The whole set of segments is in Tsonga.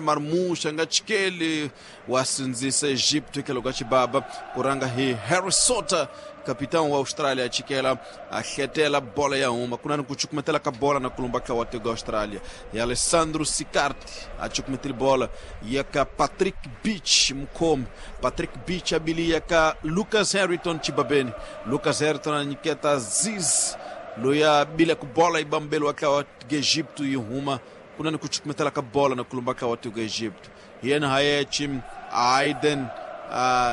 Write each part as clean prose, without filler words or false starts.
Marmoush a nga chikeli wa sindzisa Egipto hitlhelo ka xibaba ku rhanga hi Harry Sotter kapitani wa Australia a chikela a hletela bola ya huma ku na ni ku cukumetela ka bola na kulumba ka wa tiko Australia hi Alessandro Sicardi a cukumetele bola ya ka Patrick Beach mukhomi Patrick Beach a bili ya ka Lucas Harrington chibabeni Lucas Harrington a nyiketa Aziz loyi a bile ku bola yi bambeliwa ka wa Egipto yi huma ku na ni ku cukumetela ka bola na kulumba ka wa tiko Egipto hi yena Hayechi Aiden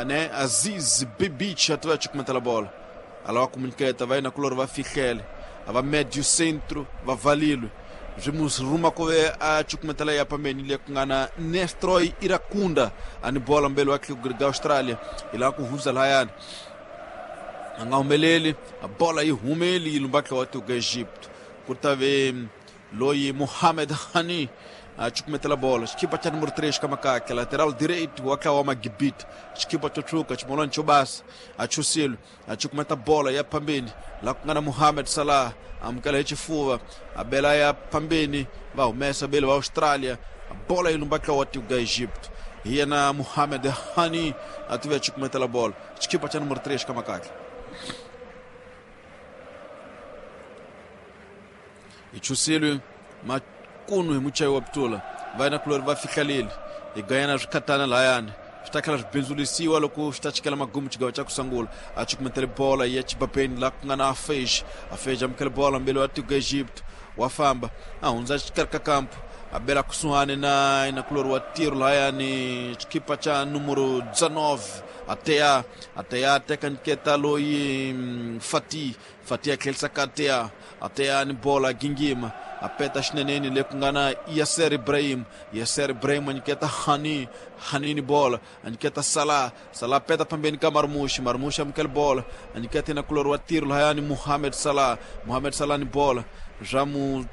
ne Aziz Bibic a tiva cukumetela bola a lava ku munyiketa va yena kulori va fihlele a va medio centro va valilwe swi mu rhuma ku ve a cukumetela ya pambeni le ku nga na Nestroy Irakunda a ni bola mbeli wa ga Australia yi lava ku hundza lahayani a nga humeleli bola yi humeli yi lumba wa tiko Egypt ku ta ve loyi Mohamed Hani a cukumetela bola xikipa xa numero 3 ka makake lateral direito wa tlawa wa Magibit xikipa xo tshuka ximolani xo basa a chusile a cukumeta bola ya phambeni la ku nga na Mohamed Salah amukela hi xifuva a bela ya phambeni va humesa beli va Australia bola yi lumba tlawa wa tiko ga Egypt hi yena Mohamed Hani a tive a cukumetela bola xikipa xa numero 3 ka makake hi chusilwe makunu hi muchayi wa putula va yena kulori va fihlalile hi gayana swikhatana lahayani swi ta tlhela swi bindzulisiwa loko swi ta chikela magumu xigawo xa ku sungula a cukumetele bola ya chibabeni laha ku nga na afej afej amukele bola mbeli wa tiko Egypt wa famba a hundza xikarhi ka kampu a bela kusuhani na inakulori wa tiro lahayani xikipa xa numero 19 ateya ateya teka nyiketa loyi Fati Fati a tlherisa ka Atea Atea ni bola gingima a peta xineneni le ku nga na Yasser Ibrahim Yasser Ibrahim a nyiketa Hani Hani ni bola a nyiketa Salah Salah peta phambeni ka Marmoush Marmoush amukela bola a nyiketa na kulori wa tiro lahayani Mohamed Salah Mohamed Salah ni bola swa mu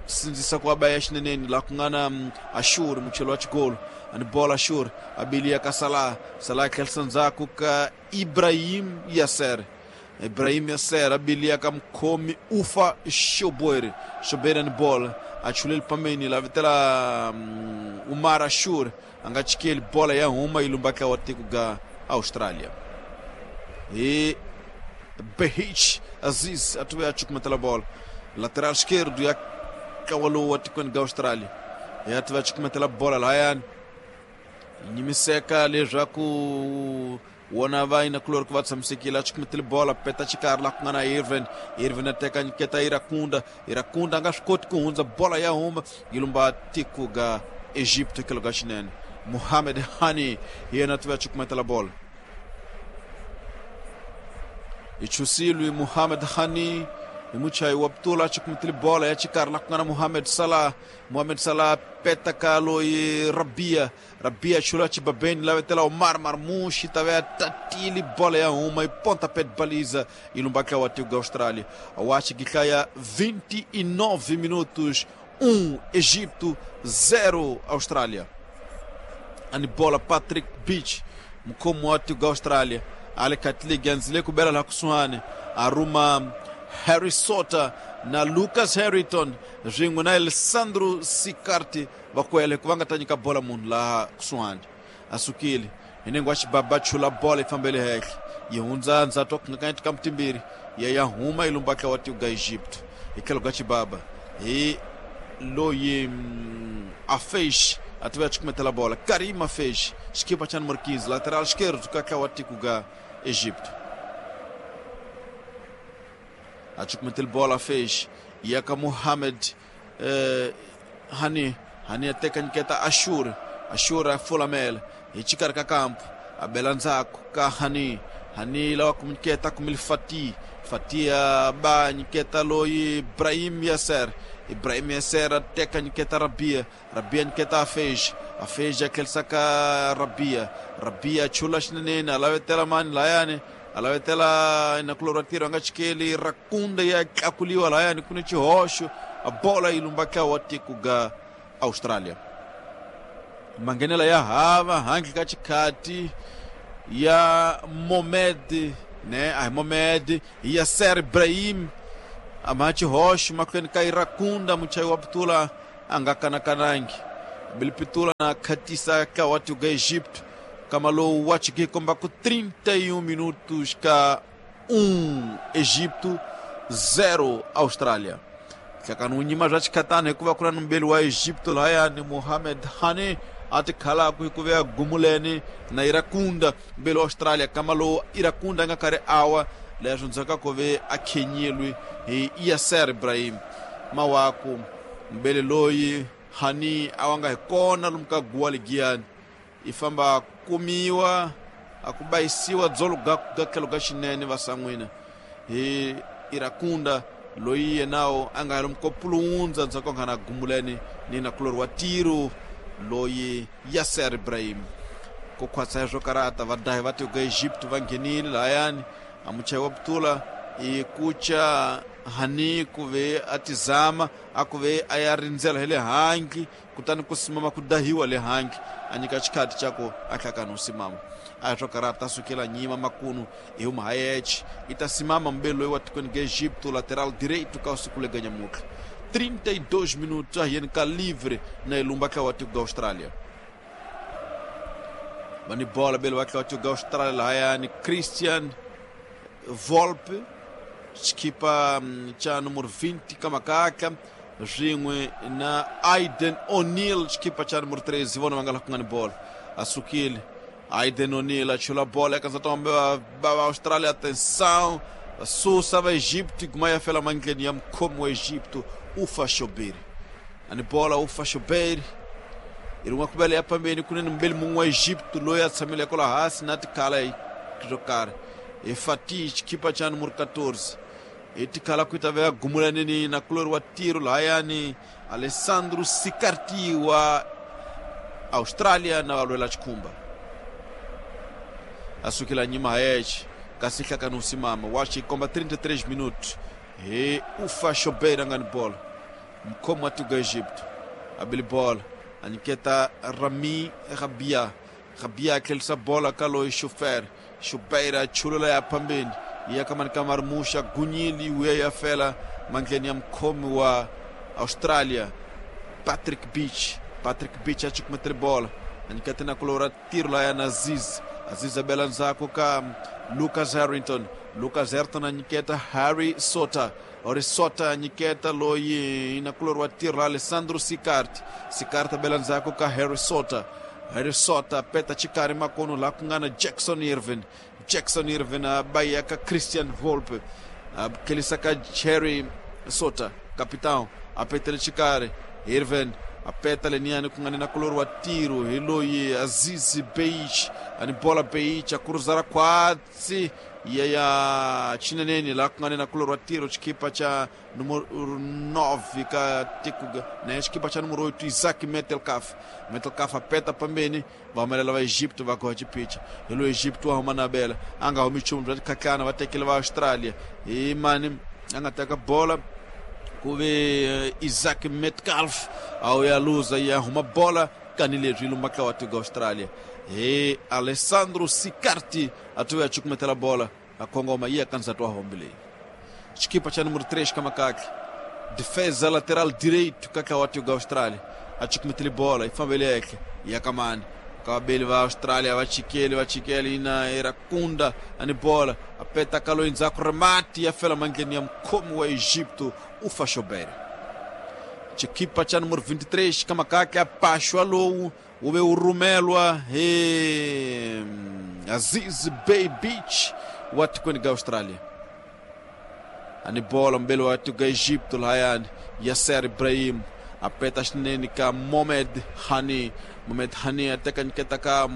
sindzisa ku va ya xineneni laha ku nga na Ashur mucheli wa xikolo a ni bola Ashur a biliya ka Salah Salah tlherisa ndzhaku ka Ibrahim Yasser Ibrahim Yasser abilia ka mukhomi Ufa Shoboeri Shoboeri ni bola a chuleli pambeni la vitela Umar Ashur a nga chikeli bola ya huma yi lumba wa tiko ga Australia hi Behich Aziz a tuve a cukumetela bola lateral esquerdo ya ntlawa lowu wa tikweni ga Australia ya tiva cukumetela bola lahayani nyimiseka leswaku wona va inakulori ku va tshamisekile a cukumetele bola peta xikarhi laha ku nga na Irvin Irvin a teka nyiketa Irakunda Irakunda a nga swi koti ku hundza bola ya huma yi lumba tiko ga Egypt tlhelo ka xinene Mohamed Hani hi yena a tiva cukumetela bola hi chusilwe Mohamed Hani hi muchayi wa putula a cukumetele bola ya xikarhi laha ku nga na Mohamed Salah Mohamed Salah peta ka loyi Rabia Rabia chula chibabeni lavetela Omar Marmoush tave tatili bola ya huma e pontapé de baliza e lumba wa tiko ga Austrália. Awachi gihlaya 29 minutos 1 Egipto 0 Austrália. Ani bola Patrick Beach mukhomi wa tiko ga Austrália ale katile ganzile kubela la kusuhani aruma Harry Sotter na Lucas Harrington swin'we na Alessandro Sicardi va kwele ku va nga ta nyika bola munhu laha kusuhani a sukile hi nengo wa xibaba chula bola yi fambele henhla yi hundza ndzhaku wa kungakanyeti ka mutimbirhi ya ya huma yi lumba wa tiko ga Egypt hi tlhelo ka xibaba hi loyi Afeish a tiva cukumetela bola Karim Afeish xikipa xa numero 15 lateral esquerdo ka ntlawa wa tiko ga Egypt a cukumetele bola Afeish ya ka Mohamed Hani Hani a teka nyiketa Ashur Ashur a fulamela hi xikarhi ka kampu a bela ndzhaku ka Hani Hani lava ku nyiketa kumile Fati Fati a ba nyiketa loyi Ibrahim Yasser Ibrahim Yasser a teka nyiketa Rabia Rabia nyiketa Afej Afej a tlherisa ka Rabia Rabia chula xineneni a lavetela mani layani a lavetela inakulori wa tiro a nga chikeli Rakunda ya tlakuliwa layani ku ni xihoxo a bola yi lumba ntlawa wa tiko ga Australia manghenela ya hava handle ka xikhati ya Mohamed ne a hi Mohamed hi Yasser Ibrahim a ma xihoxo mahlweni ka Irakunda muchayi wa putula a nga kanakanangi Bilipitula na khatisa ka wa tiko Egipto kama lowu wa chike komba ku 31 minutos ka 1 Egipto 0 Austrália. Hlakani wu nyima bya chikhatana hikuva ku na numbeli wa Egipto lahayani Mohamed Hani a tikhalaku hikuva ya gumuleni na Irakunda mbeli wa Australia kama lowu Irakunda a nga karhi awa leswo ndzhaku ku ve a khenyilwe hi Yasser Ibrahim mawaku mbeli loyi Hani a wa nga hi kona lomu ka guwa ligiyani i famba kumiwa a ku bayisiwa dzolo ga tlhelo ga xinene vasan'wina hi Irakunda loyi yenawo a nga lomu ko pulundza ndzhaku ka nga na gumuleni ni nakulori wa tiro loyi Yasser Ibrahim ku khwatsa swo karata vadahi va tiko Egypt va nghenile lahayani a muchayi wa putula i kucha Hani ku ve a tizama a ku ve a ya rindzela hi le handle kutani ku simama ku dahiwa le handle a nyika xikhati xa ku a hlakani u simama a swo karata sukela nyima makunu hi huma hayeche i ta simama mbeli loyi wa tikweni ga Egipto lateral direito ka siku lega nyamutlha 32 minutos a yeni ka livre na ilumba tla wa tiko ga Australia vani bola bele va tla wa tiko ga Australia lahayani Christian Volpe xikipa cha numero 20 kamakaka swin'we na Aiden O'Neill xikipa cha numero 13 vona va nga laha ku nga ni bola a sukile Aiden O'Neill a chula bola eka nsati wa va Australia atenção va susa va Egypt guma ya fela mandleni ya mukhomi wa Egypto Ufa Shoberi ani bola Ufa Shoberi i rin'we ku vela ya phambeni kunene mbeli mun'we wa Egypto loyi a tshamile kwala hansi na tikhala swo karhi hi Fatih xikipa cha numero 14 hi tikhala ku ta ve gumulaneni na kulori wa tiro lahayani Alessandro Sicarti wa Australia na valwela xikhumba a sukela nyima hayeche kasi hlakani usimama wa xikomba 33 minutos hi Ufa Shobeir a nga ni bola mukhomi wa tiko Egypto a bili bola a nyiketa Rami Rabia Rabia a tlherisa bola ka loyi Shofer Shobeir a chulula ya phambeni ya kamani ka Marmusha gunyili wuya ya fela mandleni ya mukhomi wa Australia Patrick Beach Patrick Beach a chukumetele bola a nyiketa na kulora tiro la na Aziz Aziz abela ndzhaku ka Lucas Harrington Lucas Harrington a nyiketa Harry Sota Harry Sota a nyiketa loyi na kulori wa tiro la Alessandro Sicart Sicart abela ndzhaku ka Harry Sota Harry Sota peta chikari makono la ku nga na Jackson Irvin Jackson Irvin a baya ka Christian Volpe a kelisa ka Harry Sota capitão a petele chikari Irvin a peta leniani ku nga ni na kulori wa tiro hi loyi Aziz Beich ani bola Beich a kuruzara khwatsi ya ya chineneni la ku nga ni na kulori wa tiro xikipa cha numero 9 ka tiko na xikipa cha numero 8 Isaac Metelkaf Metelkaf a peta pambeni va humelela va Egypto va goha xipicha hi loyi Egypto wa huma na bela a nga humi nchumu bya tikhatlana va tekele va Australia hi mani a nga teka bola ku ve Isaac Metcalf a wu ya luza ya huma bola kani leswi lumba tla wa tiko Australia hi Alessandro Sicarti a tuya chukumetela bola a kongoma yi ya ka ndzati wa hombe leyi xikipa cha numero 3 kamakakle defesa lateral direito ka tla wa tiko Australia a chukumetele bola yi fambele ehle ya kamani ka vabeli va Australia va chikeli ina Irakunda ani bola a peta ka loyi ndzhaku remati ya fela mandleni ya mukhomi wa Egipto Ufa Shobeir xikipa cha numero 23 kamakakle a paxwa lowu wu ve wu rhumelwa hi Aziz Bay Beach wa tikweni ga Australia ani bola mbeli wa tiko Egipto lahayani Yasser Ibrahim a peta xinene ka Mohamed Hani Mohamed Hani a teka nyiketa ka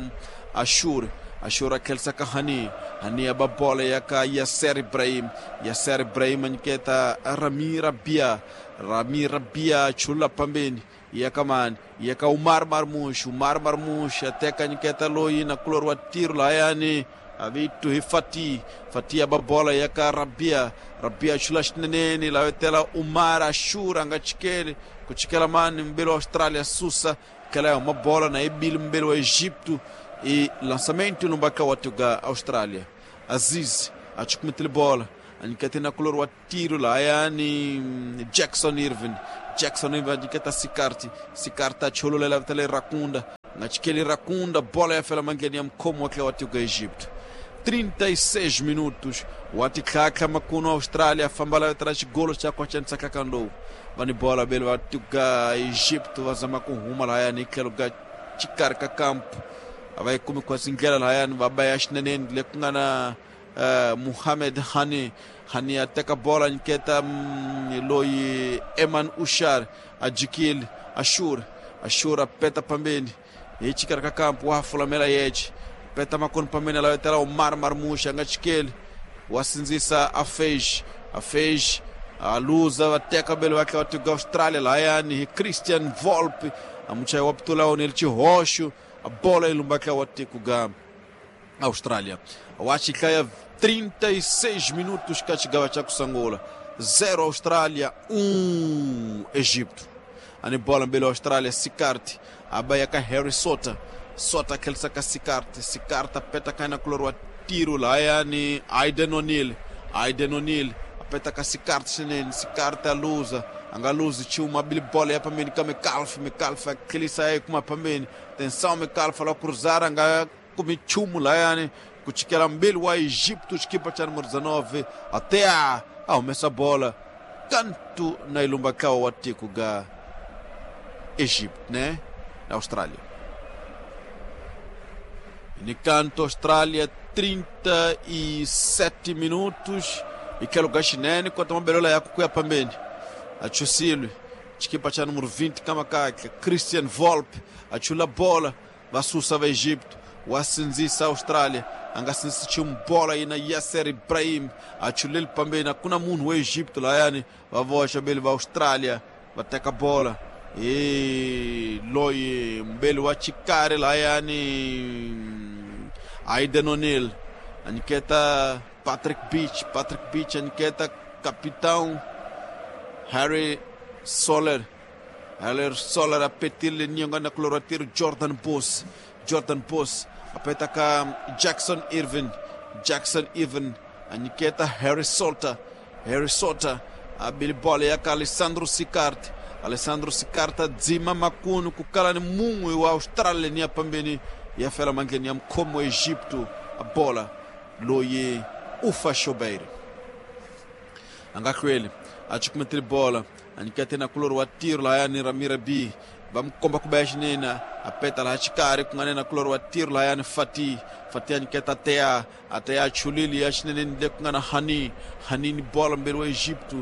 Ashur Ashur a tlherisa ka Hani Hani a ba bola ya ka Yasser Ibrahim Yasser Ibrahim a nyiketa Rami Rabia Rami Rabia chula pambeni ya kamani ya ka Umar Marmush Umar Marmush a teka nyiketa loyi na kulori wa tiro lahayani avitu hi Fatih Fatih aba bola ya ka Rabia Rabia chula xineneni lavetela Umar Ashur a nga chikeli ku chikela mani mbeli wa Australia susa kela ya huma bola na ibili mbeli wa Egipto e lançamento lumbaka wa tuga Australia Aziz a chukumetele bola a nyikete na kulori wa tiro lahayani Jackson Irvin Jackson Irvin nyiketa Sikarti. Sikarti achololela vitale Rakunda. Nga chikeli Rakunda, bola ya fela mangeni ya mkhomo wa wa tiko Egipto. 36 minutos. Watikhakha makuno Austrália famba la tras golo cha kwa chansa kakando. Vani bola bele wa tiko Egipto vazama kuhuma la ni tlhelo ka xikarhi campo. A yi kumi kwasi ndlela lahayani va ba ya xineneni le ku nga na Muhammad Hani. Hani a teka bola nyiketa loyi Eman Ushar a jikile Ashur. Ashur a peta pambeni hi xikarhi ka kampo wa ha fulamela yexe peta makoni pambeni a lavetela Omar Marmusha a nga chikeli wa sindzisa Afej. Afej a luza va teka bele va tlhela va tiko Australia lahayani hi Christian Volpe a muchayi wa pitula onele xihoxo a bola yi lumba tlhela wa tiko ga Austrália. Wa xihlaya 36 minutos ka xigava xa ku sungula. 0 Austrália, 1 Egipto. Ani bola mbele Austrália, Sikarti a ba ya ka Harry Sota. Sota tlherisa ka Sikarti. Sikarti a peta ka na kulori wa tiro lahayani Aiden O'Neill. Aiden O'Neill a peta ka Sikarti swinene. Sikarti a luza. A nga luzi nchumu a bile bola ya pambeni ka Mikalfa. Mikalfa a tlherisa yi kuma pambeni. Tensão Mikalfa la cruzar a nga kumi nchumu lahayani ku chikela mbili wa Egipto xikipa xa número 19 até a humesa bola kantu na ilumba ntlawa wa tiko ga Egipto, né? Na Austrália. Ni canto Austrália 37 minutos e quero xinene quanto uma belola ya kuya pambeni. Achusile xikipa xa número 20 kamakaka Christian Volpe achula bola va susa va Egipto wa sindzisa Austrália a nga sindzisi nchumu bola yi na Yasser Ibrahim achuleli pambeni a ku na munhu wa Egipto lahayani va voxa beli va Austrália va teka bola hi loyi mbeli wa xikari lahayani Aiden O'Neill a nyiketa Patrick Beach. Patrick Beach a nyiketa capitão Harry Soler. Harry Soler a petile nyonga na coloratiro Jordan Bos. Jordan Bos a peta ka Jackson Irvin. Jackson Irvin a nyiketa Harry Sota. Harry Sota a bili bola ya ka Alessandro Sikarti. Alessandro Sikarti a dzima makunu ku kala ni mun'we wa Australia ni ya pambeni ya fela mandleni ya mkhomo wa Egipto a bola loyi Ufa Shobeir. A nga hlweli a cukumetile bola a nyikete na kulori wa tiro lahayani Ramira B va mi komba ku ba ya xinene a peta laha xikarhi ku nga ne na kulori wa tiro lahayani Fati. Fati a nyiketa Atea. Atea a chulile ya xineneni le ku nga na Hani. Hani ni bola mbeli wa Egipto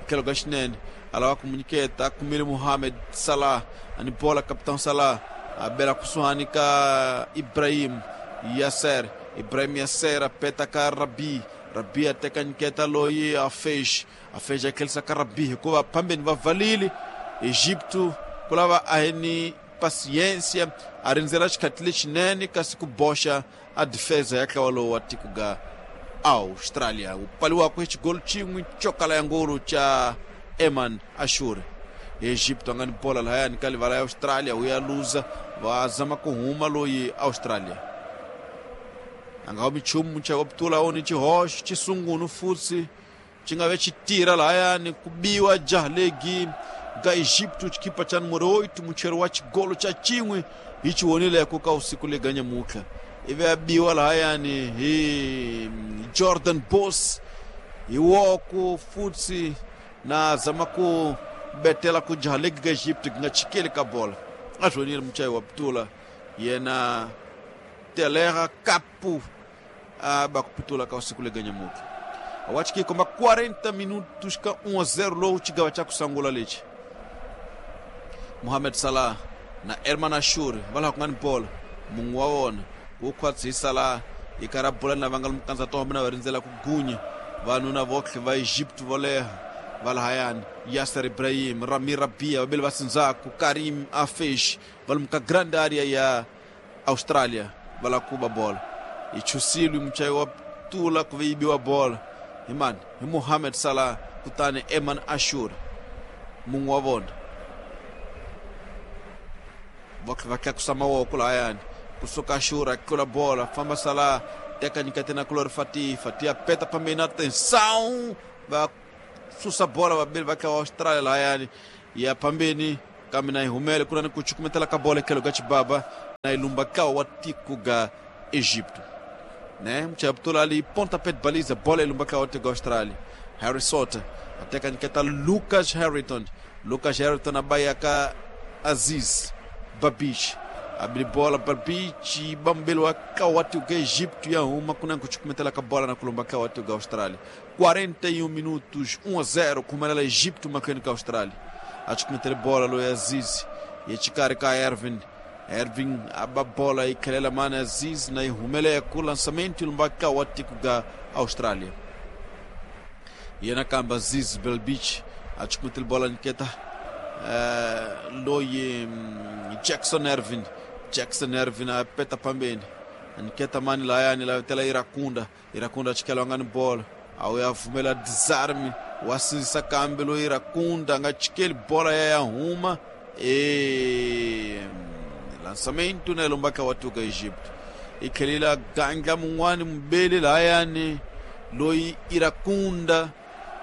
tlhelo ka xinene a lava ku mu nyiketa a kumile Mohamed Salah a ni bola capitão Salah a bela kusuhani ka Ibrahim Yasser. Ibrahim Yasser a peta ka Rabi. Rabi a teka nyiketa loyi a Fesh. A Fesh a tlherisa ka Rabi hikuva phambeni va valile Egipto ku lava a hi ni paciência a rindzela xikhathi lexinene kasi ku boxa a defesa ya ntlawa lowu wa tiko ga Austrália wu pfaliwaka hi xigolo xin'we xo kala ya ngolo xa Eman Ashur. Egipto a nga ni bola lahayani ka livala ya Australia wu ya luza va zama ku huma loyi Australia a nga humi nchumu muchayi wa pitula oni xihoxo xisungunu futsi xi nga ve xi tirha lahayani ku biwa jahlegi ga Egipto xikipa xa numero 8 mucheri wa xigolo xa xin'we hi xi vonileko ka usiku lega nyamutlha ivi a biwa lahayani hi Jordan Bos hi woko futsi na zama ku betela ku jahlegi ga Egipto ku nga chikeli ka bola a swi vonile muchayi wa pitula yena Telera Capu a ba ku pitula ka usiku lega nyamutlha awachiki komba 40 minutos ka 1-0 lowu xigawa xa ku sungula lexi Mohamed Salah na Erman Ashur va laha ku nga ni bola mun'we wa vona ku khwatsi hi Salah yi karhi a bola na va nga mukandza tohombe na va rindzela ku gunya vanuna votlhe va Egypt vo leha va lahayani Yasser Ibrahim, Rami Rabia vavili va sindzaku Karim Afesh va lomu ka grand area ya Australia va lava ku ba bola yi chusile muchayi wa tula ku ve yi biwa bola hi mani hi Mohamed Salah kutani Eman Ashur mun'we wa vona va tlakusa mavoko lahayani kusuka Ashur a tlula bola famba Salah teka nyikete na kulori Fati. Fati a peta pambeni atenção va susa bola vavili va tlhela Australia lahayani Ya pambeni kambe na yi humele ku na ni ku cukumetela ka bola etlhelo ka xibaba na yi lumba kawa wa tiko ga Egipto, né? Mchaptula ali pontapé de baliza, bola ilumba kawa wa tiko ga Austrália. Harry Sota ateka nyiketa Lucas Harrington. Lucas Harrington abaya ka Aziz Babic, abri bola Babic, bambelo wa kawa wa tiko ga Egipto ya uma kuna kuchukumetela ka bola na kulumba kawa wa tiko ga Austrália. 41 minutos, 1-0 kumelela Egipto makweni ka Austrália. Achukumetele bola lo Aziz yechikari ka Ervin. Ervin aba bola ikhelela mana Aziz na ihumele ku lançamento lumbaka wa tiko ga Austrália. Yena kamba Aziz Belbich achukumetele bola niketa loyi Jackson Ervin. Jackson Ervin apeta pambeni niketa mani layani la tela Irakunda. Irakunda achikela wangani bola au yavumela desarme wasinzisa kambe lo Irakunda nga chikeli bola ya yahuma e lançamento na lombaka watuka Egipto ikhelila ganga mun'wani mubeli layani loyi Irakunda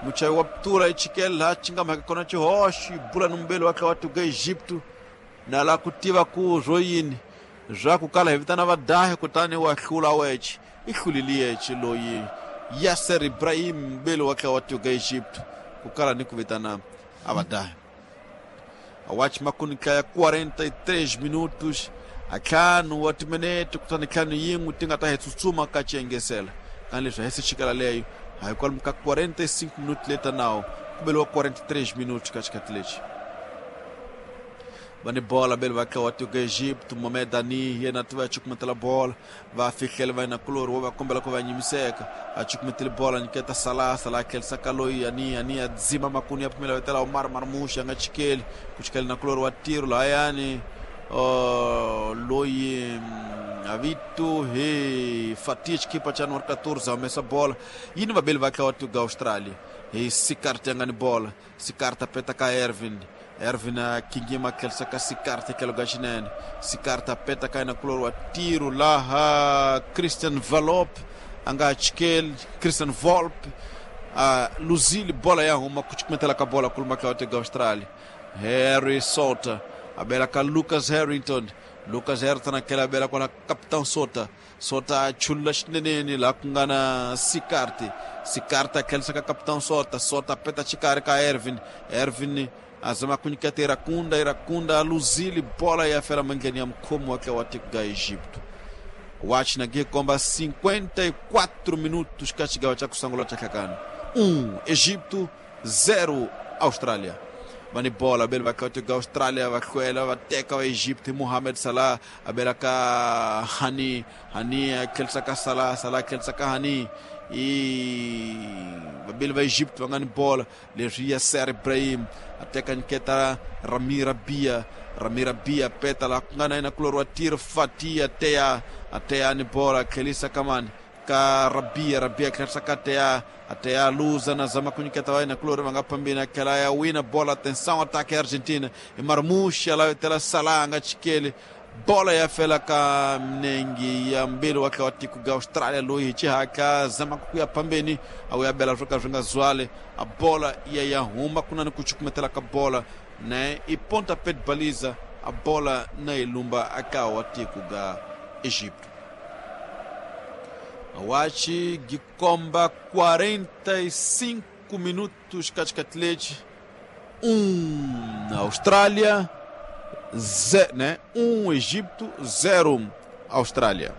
muchayi wa ptura ichikeli laha xi nga mhaka kona xihoxo yi bula ni mubeli wa kha watuka Egipto na la ku tiva ku swo yini swa ku kala hi vitana vadahi kutani wa hlula weche i hlulile yeche loyi Yasser Ibrahim mbele wake watuka Egypto kukala ni kuvitana abadahi awachi makunika ya 43 minutos atlhanu wa timinete kutani ntlhanu yin'we ti nga ta hi tsutsuma ka xiengesela kani leswi a hi se xikela leyo hayi kwalomu ka 45 minutos leta nawo ku beliwa 43 minutos ka xikhathi lexi va ni bola bele va kha wa tiko Egipto Mohamed Ani yena ti va cukumetela bola va fihlela va yena kulori wo va kombela ku va nyimiseka a cukumetele bola nyiketa Salah. Salah a tlherisa ka loyi Ani. Ani a dzima makunu ya pfumela vetela Omar Marmoush a nga chikeli ku chikeli na kulori wa tiro lahayani loyi avito he Fatih xikipa xa numero 14 a humesa bola yini vabeli va kha wa tiko Australia hi Sikarti a nga ni bola. Sikarti a peta ka Ervin. Ervin a kingima tlherisa ka Sikarti tlhelo ka xinene. Sikarti a peta ka yena kulori wa tiro laha Christian Valop a nga chikeli Christian Volp a luzile bola ya huma ku cukumetela ka bola kuluma ka wa tiko Australia. Harry Sota a bela ka Lucas Harrington. Lucas Harrington a tlhela a bela kwala Capitão Sota. Sota a chulula xineneni laha ku nga na Sikarti. Sikarti a tlherisa ka Capitão Sota. Sota a peta xikarhi ka Ervin. Ervin azama ku nyiketa Irakunda. Irakunda a luzile bola ya fela mandleni ya mukhomi wa wa tiko ga Egipto. Wachi na komba 54 minutos ka xigawa xa ku sungula xa hlakani. 1 Egipto, 0 Austrália. Va ni bola bele va kha tiko ga Austrália va hlwela va teka va Egipto hi Mohamed Salah a bela ka Hani. Hani a tlherisa ka Salah. Salah a tlherisa ka Hani i vabeli va Egipto va nga ni bola leswi Yasser Ibrahim a teka nyiketa Rami Rabia. Rami Rabia peta laha ku nga na yena kulori wa tiro Fatih ateya. Ateya ni bola a tlherisa ka mani ka Rabia. Rabia tlherisa ka Ateya. Ateya luza na zama ku nyiketa va yena kulori va nga phambeni a tlhela ya wina bola. Atenção, ataque ya Argentina i Marmoush a lavetela Salah a nga chikeli bola ya fela ka minengi ya mbili wa kha wa tiko ga Australia loyi hi xihatla zama ku ya phambeni a wu ya bela swo ka swi nga zwali a bola ya ya huma ku na ni ku cukumetela ka bola ne i pontapé de baliza a bola na yi lumba aka wa tiko ga Egipto. Wachi gikomba 45 minutos katikati 1 Austrália, né? 1 Egipto, 0 Austrália.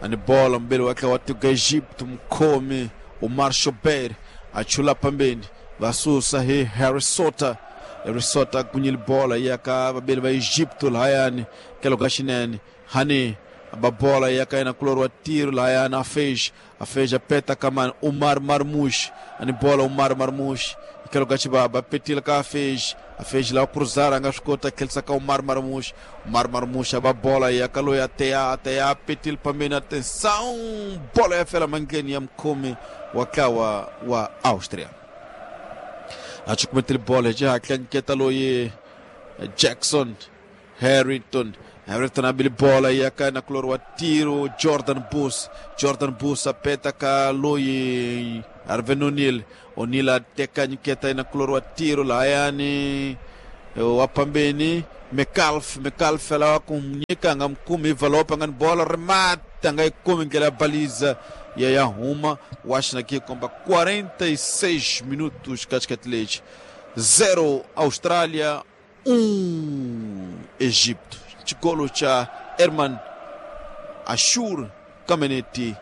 Ani bola mbele wake wa tiko Egipto mkhomi Omar Shober achula pambeni vasusa hi Harry Sota. Harry Sota kunyile bola yaka vabeli va Egipto lahayani kelo ka xinene Hani babola yaka yena kulori wa tiro lahayani afej. Afej apeta kamani Omar Marmoush ani bola Omar Marmoush ikelo ka xibaba petile ka Afej. Afej la cruzar a nga swi kota tlherisa ka Omar Marmoush. Omar Marmoush a ba bola yaka loyi ateya. Ateya petile pambeni atenção bola ya fela mandleni ya mukhomi wa ntlawa wa Austria. A cukumetile bola hi xihatla nyiketa loyi Jackson Harrington. Everton abili bola yaka na kulor wa tiro Jordan Bus. Jordan Bus apeta ka loyi Arven O'Neal. O'Neal ateka nyiketa na kulor wa tiro layani wapambeni Metcalf. Metcalf alawa kumnyika nga mkumi valopa nga bola remata nga ikumi ngela baliza ya Yahuma. Washington aqui komba 46 minutos katikati leite. 0 Austrália, 1 Egipto. Chigolo cha Herman Ashur Kameneti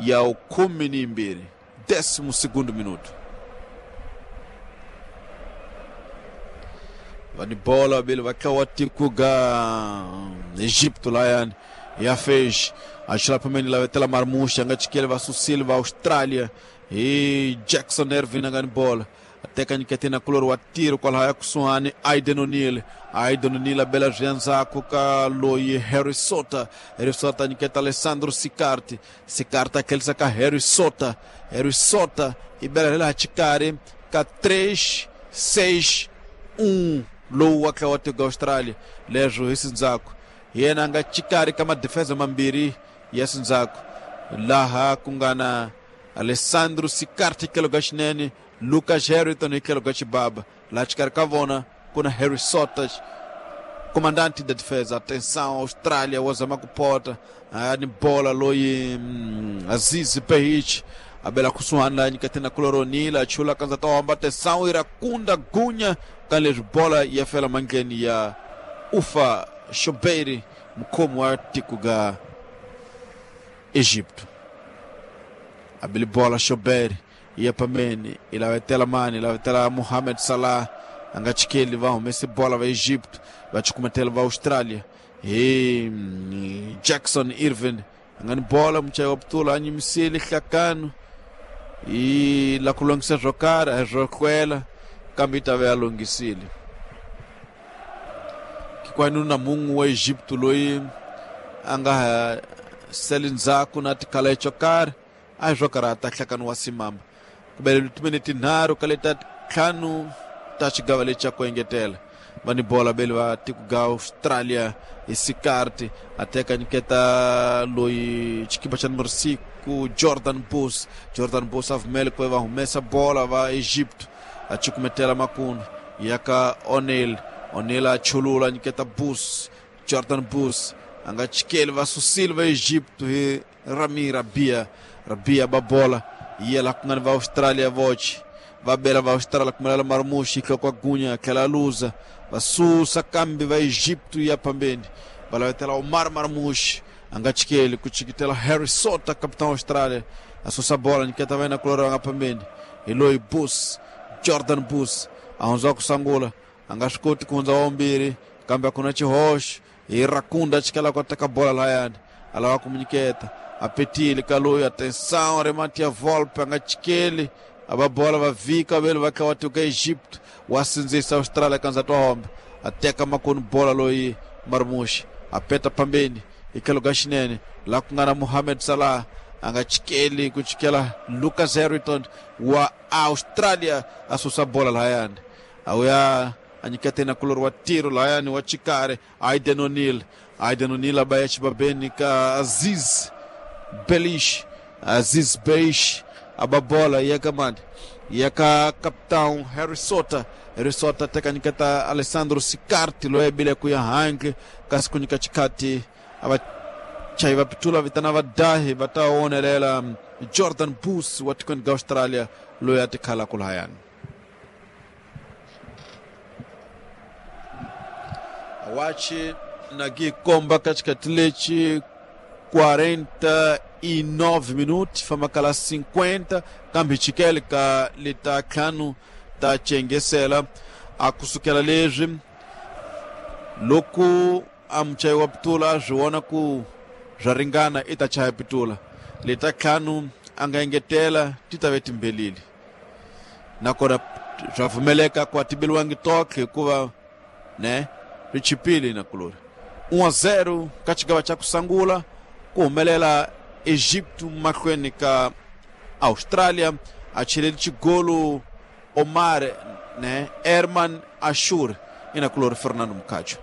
ya 12, 12º minuto. Vani bola bele vakawatikuga Egipto lá ya fez achila pameni la vetela Marmuxa nga chikele va Susil va Austrália e Jackson Ervin ngani bola ateka nyiketena kulor wa tiro kwala haya kusuhani Aiden O'Neal. Aiden O'Neal abela zvianzako ka loyi Harry Sota. Harry Sota nyiketa Alessandro Sicarti. Sicarti akelisa ka Harry Sota. Harry Sota ibela lela chikari ka 3 6 1 lowu wa tlawa Australia leswo hi sindzako yena nga chikari ka madefensa mambirhi ya sindzako laha ku nga na Alessandro Sicarti tlhelo ka xinene, Lucas Harrington hi tlhelo ka xibaba. Laha xikarhi ka vona ku na Harry Sota, comandante da defesa. Atenção, Austrália wa zama ku pota ni bola loyi Aziz Behich abela kusuhani laha nyiketena kuloronila chula kanza ta hamba. Atenção, Irakunda Gunya ka leswi bola ya fela mandleni ya Ufa Shobeiri, mukhomi wa tiko ga Egipto. Abili bola Shobeiri ya pameni ilavetela mani ilavetela Mohamed Salah anga chikeli va humese bola va Egipto va chikumetela va Austrália e Jackson Irvin anga ni bola muchayi wa putula a nyimisile hlakano i la ku longisa swo karhi a swo hlwela kambe yi ta ve a longhisile. Kikwani na mun'we wa Egipto loyi a nga ha seli ndzhaku na tikhala xo karhi a hi swo karhata hlakano wa simama kubele timinete tinharhu ka leta ntlhanu ta xigava lexi xa ku engetela. Va ni bola bele va tiko ga Australia hi Sicarti a teka nyiketa loyi xikipa xa numero 5 Jordan Bus. Jordan Bus a vumele ku va humesa bola va Egipto a cukumetela makunu ya ka O'Neal. O'Neal a chulula nyiketa Bus. Jordan Bus a nga chikeli va susile va Egipto hi Rami Rabia. Rabia ba bola yela ku nga ni va Australia voce va bela va Australia kumelela Marmushi hloko gunya tlhela luza va susa kambe va Egipto ya pambeni va lavetela Omar Marmushi a nga chikeli ku chikitela Harry Sota capitão Australia a susa bola nyiketa va yena kulora nga pambeni hi loyi Bus Jordan Bus a hundza ku sangula a nga swi koti ku hundza wa vumbirhi kambe a ku na xihoxo hi Rakunda chikela ku teka bola layani a lava ku nyiketa a petile ka loyi. Atenção, remate ya Volpe a nga chikeli a va bola va vika vele va tlha wa tiko Egipto wa sindzisa Australia kanza twa hombe a teka makoni bola loyi Marmushi a peta pambeni hi tlhelo ka xinene laha ku nga na Mohamed Salah a nga chikeli ku chikela Lucas Harrington wa Australia a susa bola lahayani a wuya a nyiketena kulori wa tiro lahayani wa chikari Aiden O'Neal. Aiden O'Neal a baya xibabeni ka Aziz Belish. Aziz Beish aba bola ya ka mani ya ka capitão Harry Sota. Harry Sota teka nyiketa Alessandro Sicarti loyi bile ku ya handle kasi ku nyika chikati ava chayi va pitula vitana vadahi va ta onelela Jordan Bus wa tikweni ga Australia loyi a tikhala ku lahayani. Awachi nagi komba katikati lechi 49 minutos famakala 50 kambe chikele ka leta ntlhanu ta chengesela a kusukela leswi loko a muchayi wa pitula swi vona ku swa ringana i ta chaya pitula leta ntlhanu a nga engetela ti ta ve timbelile nakona swa pfumeleka ku a ti beliwangi toke hikuva ne ri chipile na kulori 1-0 ka xigava xa ku sungula ku humelela Egipto mahlweni ka Australia a cheleli xigolo Omar ne Herman Ashur ina kulori Fernando Mukacho.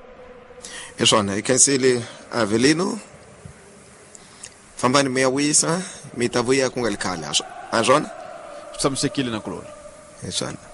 Hi swona, hi khensile Avelino. Fambani mi ya wisa, mi ta vuya ku nga ri khale, a swona? Swi tshamisekile na kuloni. Hi swona.